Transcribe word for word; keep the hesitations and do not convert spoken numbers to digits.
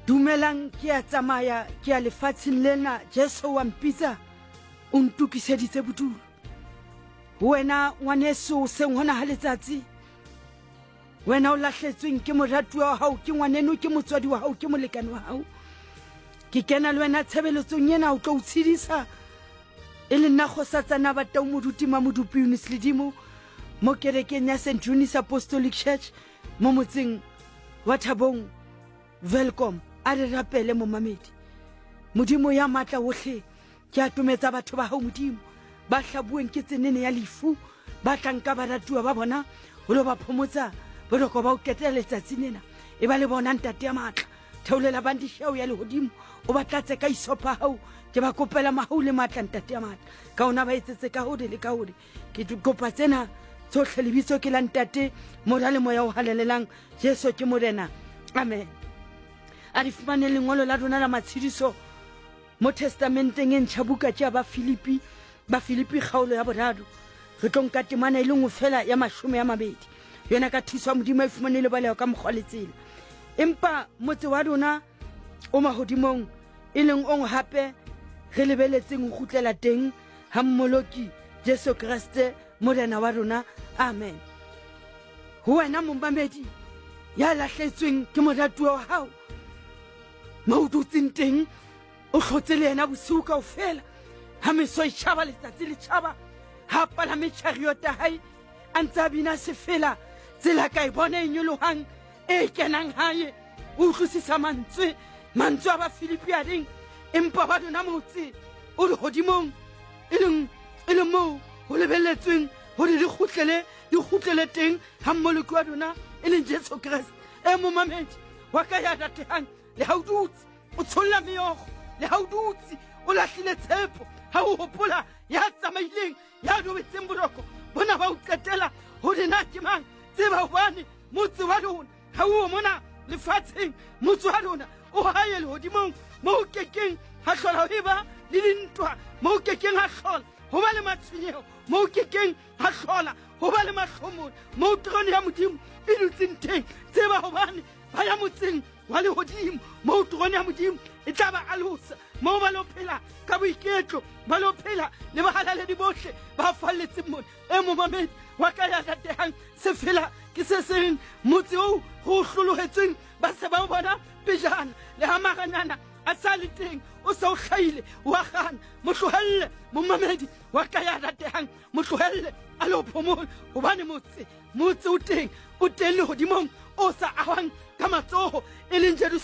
Dumelang, ke a tsamaya, ke ya lefatsheng lena. Jesu wa mpitsa, o ntokiseditse bodulo. Ho wena ngwaneso, hoseng hona ha letsatsi, wena o lahletsweng ke moratuwa wa hao, ke ngwaneno, ke motswadi wa hao, ke molekane wa hao, ke kena le wena tshebeletsong ena o tlo o tshedisa. E le nna Kgosatsana Batau Moruti Mamodupi Eunice Ledimo mo kerekeng ya Saint Eunice Apostolic Church mo motseng wa Thabong, Welkom. A re rapele. Momamedi, Modimo ya matla wohle, ke atometsa batho ba hao, Modimo, ba hlabuweng ke tsenene ya lefu, ba tlang ka baratuwa ba bona ho lo ba phomotsa boroko ba o qetela letsatsi lena. E ba le bona, Ntate ya matla, theolela bandisheo ya lehodimo, o ba tlatse ka isopha hao. Ke ba kopela mahau le matla, Ntate ya matla, ka ona ba etsetse ka hore le ka hore. Ke kopa tsena tsohle lebitso ke la Ntate, Mora le Moya o Halalelang. Jesu ke Morena, amen. A di fumane lengolo la rona la matshediso mo Testamenteng e Ntšha, buka tše ya Bafilipi, Bafilipi kgaolo ya boraro. Re tlo nka temana e le nngwe fela ya mashome a mabedi. Yona ka thuso ya Modimo e fumane le baleho ka mokgwa le tsela. Empa motse wa rona o mahodimong, e leng ong hape re lebeletseng ho kgutlela teng ha Mmoloki Jesu Kreste Morena wa rona, amen. Ho wena momamedi ya lahletsweng ke moratuwa wa hao, mo o dutseng teng o hlotse le yena bosiu kaofela, ha meso e tjhaba, letsatsi le tjhaba, ha palame chariot ya hae, a ntse a bina sefela, tsela ka e bona e nyolohang e kenang hae. O utlwisisa mantswe mantswe a Bafilipi a reng, empa ba lona motse o lehodimong, e leng e leng moo ho lebelletsweng hore di kgutlele di kgutlele teng ha Mmoloki wa rona, e leng Jesu Kreste. E momamedi wa ka ya ratehang, le ha o dutse o tsholla meokgo, le ha o dutse o lahlile tshepo, ha o hopola ya tsamaileng, ya robetseng boroko bona ba o qetela, hore na ke mang, tseba hobane motse wa rona ha o mona lefatsheng. Motse wa rona o hae lehodimong, mo o kekeng ha hlola ho eba le dintwa, mo o kekeng ha hlola ho ba le matshwenyeho, mo o kekeng ha hlola ho ba le mahlomola, mo terone ya Modimo e dutseng teng. Tseba hobane ba ya motseng wa lehodimo, mo terone ya Modimo e tla ba alosa, moo ba lo phela ka boiketlo, ba lo phela le bahalaledi bohle ba falletseng mona. E momamedi wa ka ya ratehang, sefela ke se seng, motse oo go o hlolohetsweng ba se ba o bona pejana, le ha maranyana a sa le teng, o se o hlahile wa gana. Mo tlohelle, momamedi wa ka ya ratehang, mo tlohelle a le o phomola, hobane motse motse o teng, o teng lehodimong, o sa ahwang ka matsoho, e leng Jerusalem.